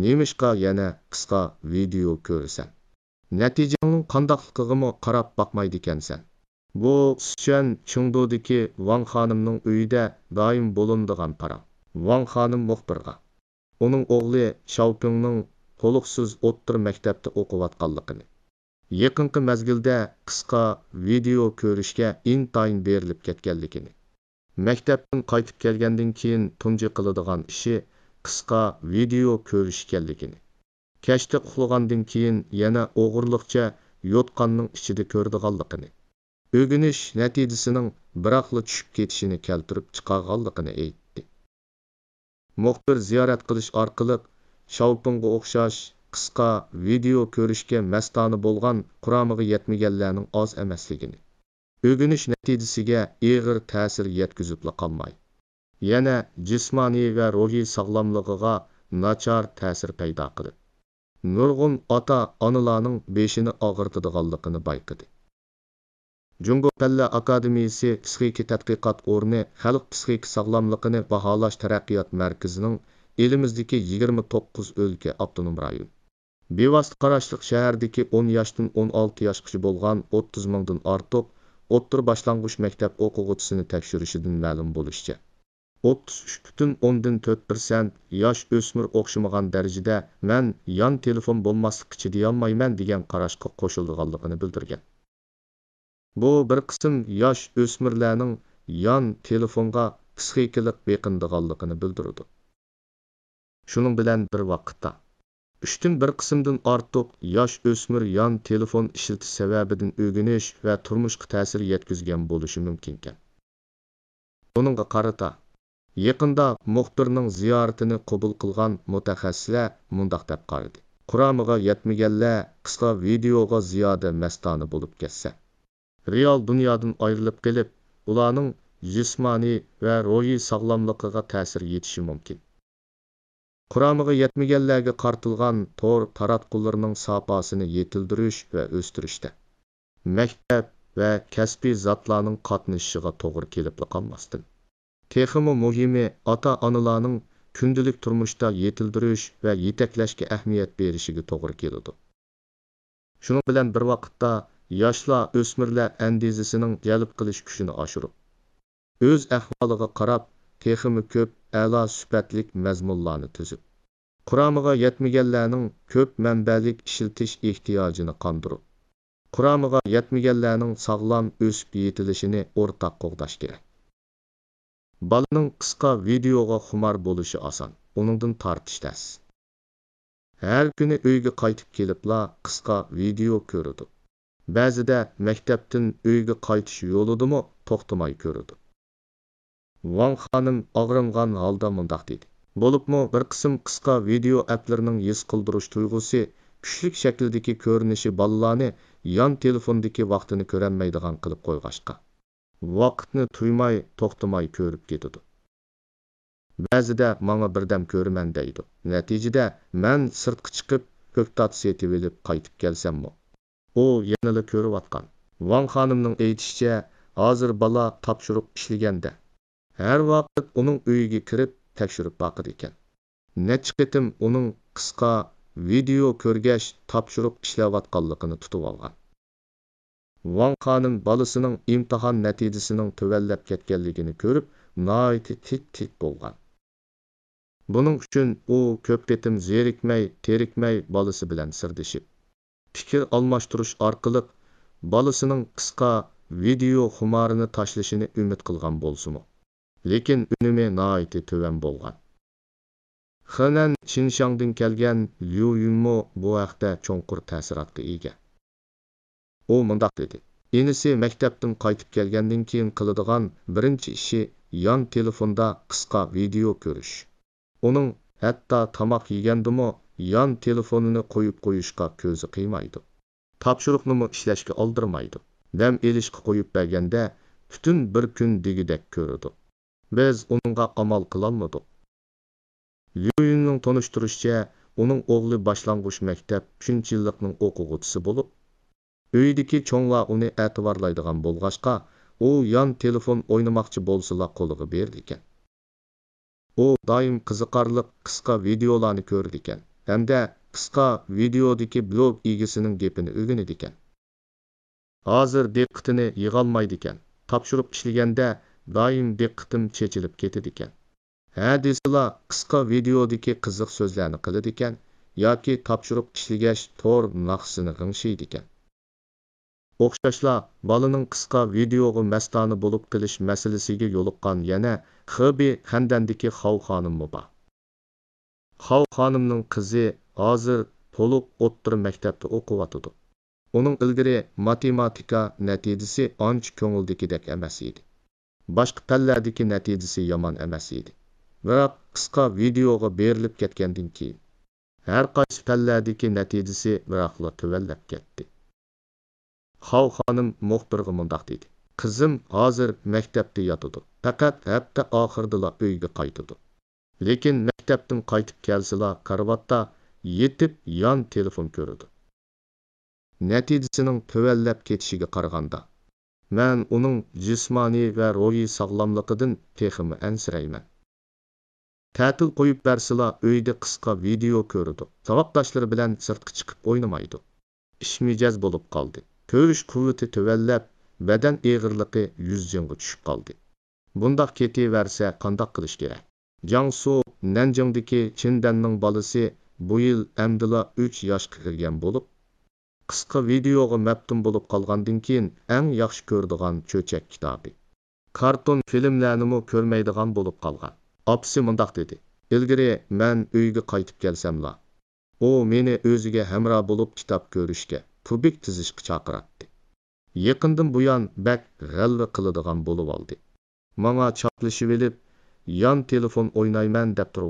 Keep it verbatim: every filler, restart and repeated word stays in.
نېمىشقا يەنە قىسقا ۋىدېئو كۆرىسەن؟ نەتىجەڭنىڭ قانداقلىقىغىمۇ قاراپ باقمايدىكەنسەن. بۇ سىچۈەن چېڭدۇدىكى ۋاڭ خانىمنىڭ ئۆيىدە دائىم بولۇنىدىغان پاراڭ. ۋاڭ خانىم مۇخبىرغا ئۇنىڭ ئوغلى شاۋپىڭنىڭ تولۇقسىز ئوتتۇرا مەكتەپتە ئوقۇۋاتقانلىقىنى، يېقىنقى مەزگىلدە قىسقا ۋىدېئو كۆرۈشكە ئىنتايىن بېرىلىپ كەتكەنلىكىنى، مەكتەپتىن قايتىپ كەلگەندىن كېيىن تۇنجى قىلىدىغان ئىشى قىسقا ۋىدېئو كۆرۈش ئىكەنلىكىنى، كەچتە ئۇخلىغاندىن كېيىن يەنە ئوغرىلىقچە يوتقاننىڭ ئىچىدە كۆرىدىغانلىقىنى، ئۆگىنىش نەتىجىسىنىڭ بىراقلا چۈشۈپ كېتىشىنى كەلتۈرۈپ چىقارغانلىقىنى ئېيتتى. مۇخبىر زىيارەت قىلىش ئارقىلىق شاۋپىڭغا ئوخشاش قىسقا ۋىدېئو كۆرۈشكە مەستانە بولغان قۇرامىغا يەتمىگەنلەرنىڭ ئاز ئەمەسلىكىنى، ئۆگىنىش نەتىجىسىگە ئېغىر تەسىر يەتكۈزۈپلا قالماي، يەنە جىسمانىي ۋە روھىي ساغلاملىقىغا ناچار تەسىر پەيدا قىلىپ، نۇرغۇن ئاتا-ئانىلارنىڭ بېشىنى ئاغرىتىدىغانلىقىنى بايقىدى. جۇڭگو پەنلەر ئاكادېمىيىسى پسىخىكا تەتقىقات ئورنى خەلق پسىخىكا ساغلاملىقىنى باھالاش تەرەققىيات مەركىزىنىڭ ئېلىمىزدىكى يىگىرمە توققۇز ئۆلكە، ئاپتونوم رايون، بىۋاسىتە قاراشلىق شەھەردىكى ئون ياشتىن ئون ئالتە ياشقىچە بولغان ئوتتۇز مىڭدىن ئارتۇق ئوتتۇرا باشلانغۇچ مەكتەپ ئوقۇغۇچىسىنى تەكشۈرۈشىدىن مەلۇم بولۇشىچە، ئوتتۇز ئۈچ پۈتۈن ئوندىن تۆت پىرسەنت ياش ئۆسمۈر ئوخشىمىغان دەرىجىدە «مەن يان تېلېفون بولماسلىققا چىدىيالمايمەن» دېگەن قاراشقا قوشۇلىدىغانلىقىنى بىلدۈرگەن. بۇ بىر قىسىم ياش ئۆسمۈرلەرنىڭ يان تېلېفونغا پسىخىكىلىق بېقىنىدىغانلىقىنى بىلدۈرىدۇ. شۇنىڭ بىلەن بىر ۋاقىتتا، ئۈچتىن بىر قىسىمدىن ئارتۇق ياش ئۆسمۈر يان تېلېفون ئىشلىتىش سەۋەبىدىن ئۆگىنىش ۋە تۇرمۇشقا تەسىر يەتكۈزگەن بولۇشى مۇمكىنكەن. بۇنىڭغا قارىتا، يېقىندا مۇخبىرنىڭ زىيارىتىنى قوبۇل قىلغان مۇتەخەسسىسلەر مۇنداق دەپ قارىدى: قۇرامىغا يەتمىگەنلەر قىسقا ۋىدېئوغا زىيادە مەستانە بولۇپ كەتسە، رېئال دۇنيادىن ئايرىلىپ قېلىپ، ئۇلارنىڭ جىسمانىي ۋە روھىي ساغلاملىقىغا تەسىر يېتىشى مۇمكىن. قۇرامىغا يەتمىگەنلەرگە قارىتىلغان تور تاراتقۇلىرىنىڭ ساپاسىنى يېتىلدۈرۈش ۋە ئۆستۈرۈشتە، مەكتەپ ۋە كەسپىي زاتلارنىڭ قاتنىشىشىغا توغرا كېلىپلا قالماستىن، تېخىمۇ مۇھىمى، ئاتا-ئانىلارنىڭ كۈندىلىك تۇرمۇشتا يېتىلدۈرۈش ۋە يېتەكلەشكە ئەھمىيەت بېرىشىگە توغرا كېلىدۇ. شۇنىڭ بىلەن بىر ۋاقىتتا، ياشلار ئۆسمۈرلەر ئەندىزىسىنىڭ جەلپ قىلىش كۈچىنى ئاشۇرۇپ، ئۆز ئەھۋالىغا قاراپ، تېخىمۇ كۆپ ئەلا سۈپەتلىك مەزمۇنلارنى تۈزۈپ، قۇرامىغا يەتمىگەنلەرنىڭ كۆپ مەنبەلىك ئىشلىتىش ئېھتىياجىنى قاندۇرۇپ، قۇرامىغا يەتمىگەنلەرنىڭ ساغلام ئۆسۈپ يېتىلىشىنى ئورتاق قوغداش كېرەك. بالىنىڭ قىسقا ۋىدېئوغا خۇمار بولۇشى ئاسان، ئۇنىڭدىن تارتىش تەس. ھەر كۈنى ئۆيگە قايتىپ كېلىپلا قىسقا ۋىدېئو كۆرىدۇ. بەزىدە مەكتەپتىن ئۆيگە قايتىش يولىدىمۇ توختىماي كۆرىدۇ. ۋاڭ خانىم ئاغرىنغان ھالدا مۇنداق دېدى: بولۇپمۇ بىر قىسىم قىسقا ۋىدېئو ئەپلىرىنىڭ ھېس قىلدۇرۇش تۇيغۇسى كۈچلۈك شەكىلدىكى كۆرۈنۈشى بالىلارنى يان تېلېفوندىكى ۋاقتىنى كۆرەلمەيدىغان قىلىپ قويغاچقا، ۋاقىتنى تۇيماي، توختىماي كۆرۈپ كېتىدۇ. بەزىدە ماڭا بىردەم كۆرىمەن دەيدۇ. نەتىجىدە مەن سىرتقا چىقىپ، كۆكتات سېتىۋېلىپ قايتىپ كەلسەممۇ، ئۇ يەنىلا كۆرۈۋاتقان. ۋاڭ خانىمنىڭ ئېيتىشىچە، ھازىر بالا تاپشۇرۇق ئىشلىگەندە، ھەر ۋاقىت ئۇنىڭ ئۆيىگە كىرىپ تەكشۈرۈپ باقىدىكەن. نەچچە قېتىم ئۇنىڭ قىسقا ۋىدېئو كۆرگەچ، تاپشۇرۇق ئىشلەۋاتقانلىقىنى تۇتۇۋالغان. ۋاڭ خانىم بالىسىنىڭ ئىمتىھان نەتىجىسىنىڭ تۆۋەنلەپ كەتكەنلىكىنى كۆرۈپ، ناھايىتى تىت-تىت بولغان. بۇنىڭ ئۈچۈن ئۇ كۆپ قېتىم زېرىكمەي، تېرىكمەي بالىسى بىلەن سىردىشىپ، پىكىر ئالماشتۇرۇش ئارقىلىق بالىسىنىڭ قىسقا ۋىدېئو خۇمارىنى تاشلىشىنى ئۈمىد قىلغان بولسىمۇ، لېكىن ئۈنۈمى ناھايىتى تۆۋەن بولغان. خېنەن شىنشاڭدىن كەلگەن ليۇ يۈنمۇ بۇ ھەقتە چوڭقۇر تەسىراتقا ئىگە. ئۇ مۇنداق دېدى: ئىنىسى مەكتەپتىن قايتىپ كەلگەندىن كېيىن قىلىدىغان بىرىنچى ئىشى يان تېلېفوندا قىسقا ۋىدېئو كۆرۈش. ئۇنىڭ ھەتتا تاماق يېگەندىمۇ يان تېلېفونىنى قويۇپ قويۇشقا كۆزى قىيمايدۇ. تاپشۇرۇقنىمۇ ئىشلەشكە ئالدىرىمايدۇ. دەم ئېلىشقا قويۇپ بەرگەندە پۈتۈن بىر كۈن دېگۈدەك كۆرىدۇ. بىز ئۇنىڭغا ئامال قىلالمىدۇق. ليۇيۈننىڭ تونۇشتۇرۇشىچە، ئۇنىڭ ئوغلى باشلانغۇچ مەكتەپ ئۈچىنچى يىللىقنىڭ ئوقۇغۇچىسى بولۇپ، ئۆيدىكى چوڭلار ئۇنى ئەتىۋارلايدىغان بولغاچقا، ئۇ يان تېلېفون ئوينىماقچى بولسىلا قولىغا بېرىدىكەن. ئۇ دائىم قىزىقارلىق قىسقا ۋىدېئولارنى كۆرىدىكەن، ھەمدە قىسقا ۋىدېئودىكى بىلوگ ئىگىسىنىڭ گېپىنى ئۆگىنىدىكەن. ھازىر دىققىتىنى يىغالمايدىكەن. تاپشۇرۇق ئىشلىگەندە دائىم دىققىتىم چېچىلىپ كېتىدىكەن. ھە دېسىلا، قىسقا ۋىدېئودىكى قىزىق سۆزلەرنى قىلىدىكەن ياكى تاپشۇرۇق ئىشلىگەچ تور ناخشىسىنى غىڭشىيدىكەن. ئوخشاشلا، بالىنىڭ قىسقا ۋىدېئوغا مەستانە بولۇپ قېلىش مەسىلىسىگە يولۇققان يەنە خېبېي خەندەندىكى خاۋ خانىممۇ بار. خاۋ خانىمنىڭ قىزى ھازىر تولۇق ئوتتۇرا مەكتەپتە ئوقۇۋاتىدۇ. ئۇنىڭ ئىلگىرى ماتېماتىكا نەتىجىسى ئانچە كۆڭۈلدىكىدەك ئەمەس ئىدى. باشقا پەنلەردىكى نەتىجىسى يامان ئەمەس ئىدى. بىراق قىسقا ۋىدېئوغا بېرىلىپ كەتكەندىن كېيىن، ھەر قايسى پەنلەردىكى نەتىجىسى بىراقلا تۆۋەنلەپ كەتتى. خاۋ خانىم مۇخبىرغا مۇنداق دېدى: «قىزىم ھازىر مەكتەپتە ياتىدۇ، پەقەت ھەپتە ئاخىرىدىلا ئۆيگە قايتىدۇ. لېكىن مەكتەپتىن قايتىپ كەلسىلا، كارىۋاتتا يېتىپ يان تېلېفون كۆرىدۇ. نەتىجىسىنىڭ تۆۋەنلەپ كېتىشىگە قارىغاندا، مەن ئۇنىڭ جىسمانىي ۋە روھىي ساغلاملىقىدىن تېخىمۇ ئەنسىرەيمەن. تەتىل قويۇپ بەرسىلا، ئۆيدە قىسقا ۋىدېئو كۆرىدۇ، ساۋاقداشلىرى بىلەن سىرتقا چىقىپ ئوينىمايدۇ. ئىش مىجەز بولۇپ قالدى. كۆرۈش قۇۋۋىتى تۆۋەنلەپ، بەدەن ئېغىرلىقى يۈز جىڭغا چۈشۈپ قالدى. بۇنداق كېتىۋەرسە قانداق قىلىش كېرەك؟» جياڭسۇ نەنجىڭدىكى چىن دەننىڭ بالىسى بۇ يىل ئەمدىلا ئۈچ ياشقا كىرگەن بولۇپ، قىسقا ۋىدېئوغا مەپتۇن بولۇپ قالغاندىن كېيىن، ئەڭ ياخشى كۆرىدىغان چۆچەك كىتابى، كارتون فىلىملەرنىمۇ كۆرمەيدىغان بولۇپ قالغان. ئاپىسى مۇنداق دېدى: «ئىلگىرى مەن ئۆيگە قايتىپ كەلسەملا، ئۇ مېنى ئۆزىگە ھەمراھ بولۇپ كىتاب كۆرۈشكە، كۇبىك تىزىشقا چاقىراتتى. يېقىندىن بۇيان بەك غەلۋە قىلىدىغان بولۇۋالدى. ماڭا چاپلىشىۋېلىپ، يان تېلېفون ئوينايمەن دەپ تۇرۇۋاتىدۇ.»